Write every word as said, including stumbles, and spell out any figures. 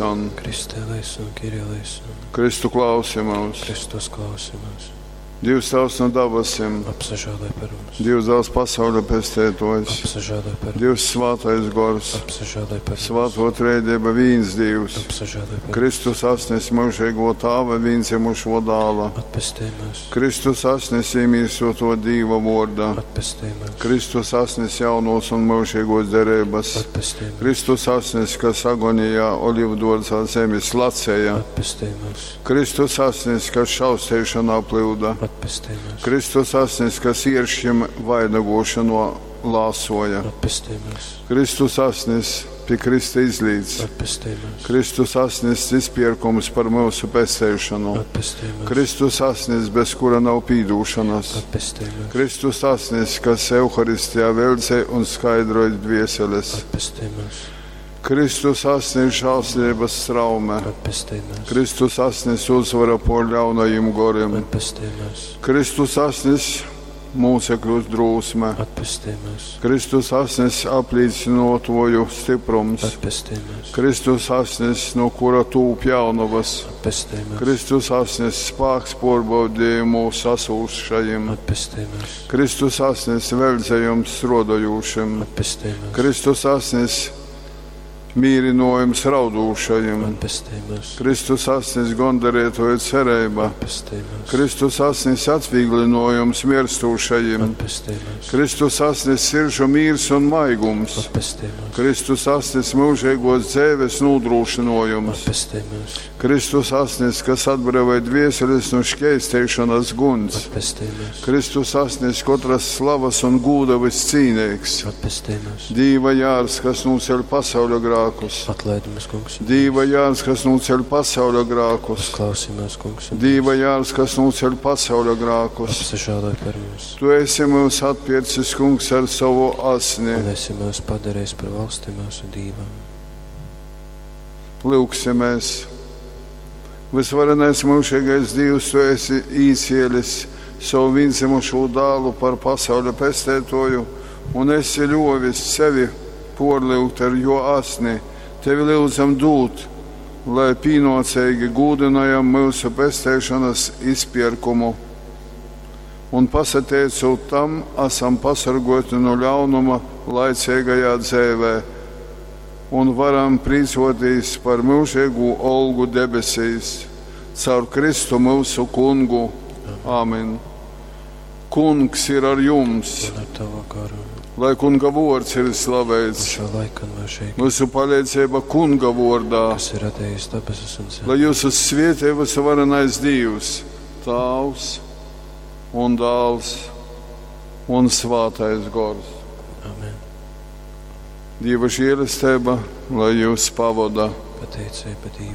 eleison. Christe eleison, Kyrie eleison. Kristu klausi mūs. Kristus klausi mūs. Dievs tavs no dabasim, Apsažēloj par mums. Dievs dāls pasauļa pestētojs, Apsažēloj par mums. Dievs svātais gors, Apsažēloj par mums. svāto trejdieba vīns Dievs, Apsažēloj par mums. Kristus asnis mūžīgo tāva vīndzimušo dāla, Atpestī mūs. Kristus asnis iemīsoto Dīva vorda, Atpestī mūs. Kristus asnis jaunos un mūžīgos derības, Atpestī mūs. Kristus asnis, kas agonijā olivdārzā zemes lacēja, Atpestī mūs. Kristus asnis, kas šausteišanā plūda, Atpestī mūs. Kristus asnis, kas ieršķim vainagošano lāsoja, Atpestī mūs. Kristus asnis pie Krista izlīdz, Atpestī mūs. Kristus asnis izpirkums par mūsu pesteišanu, Atpestī mūs. Kristus asnis, bez kura nav pīdūšanas, Atpestī mūs. Kristus asnis, kas Euharistijā veldzē un skaidroja dvieseles, Atpestī mūs. Kristus asnis žēlsirdības straume, Atpestī mūs. Kristus asnis uzvara pār ļaunajiem goriem, Atpestī mūs. Kristus asnis mūcekļu drūsme, Atpestī mūs. Kristus asnis aplīcinotoju stiprums, Atpestī mūs. Kristus asnis, no kura tūp jaunavas, Atpestī mūs. Kristus asnis spāks pārbaudījumu sasūšajiem, Atpestī mūs. Kristus asnis veldzējums strodojušiem, Atpestī mūs. Kristus asnis mīrinojums raudūšajiem, Atpestī mūs. Kristus asnis gondarētoju cerība, Atpestī mūs. Kristus asnis atvieglinojums mirstūšajiem, Atpestī mūs. Kristus asnis siržu mīrs un maigums, Atpestī mūs. Kristus asnis mūžīgos dzēves nodrošinojums, Atpestī mūs. Kristus asnis, kas atbrīvoja dvieseles no šķēsteišanas guns, Atpestī mūs. Kristus asnis katras slavas un gūda viscīnīgs, Atpestī mūs. Dīva jārs, kas nūceļ pasauļa grākus, Atlaid mums, kungs. un Dīva jārs, kas nūceļ pasauļa grākus, Uzklausī mūs, kungs. un Dīva jārs, kas nūceļ pasauļa grākus. Apsažēloj par mums. Tu esi mūs atpircis, kungs, ar savu asni. Un esi mūs padarījis par valsti mūsu Dīvam. Lūksimies! Visvarenais mūžīgais Dievs, tu esi īcielis savu vienzimušo dālu par pasauļa pestētoju un esi ļovis sevi porliut ar jo asni. Tevi lūdzam dūt, lai pīnocīgi gūdinājam mūsu pestēšanas izpirkumu. Un pasateicot tam, esam pasargoti no ļaunuma laicīgajā dzēvē un varam priecāties par mūžīgu olgu debesīs, caur Kristu mūsu kungu. Āmen. Kungs ir ar jums, Un ar tavu garu. lai kunga vārds ir Un slavēts. šo laiku un mūžīgi. Mūsu palīdzība kunga vārdā, Kas ir radījis debesis un zemi. lai jūs svietē visvarenais Dievs, Tāvs un Dāls un Svātais Gors. Amen. Dieva žēlastība, lai jūs pavada. Pateicība Dievam.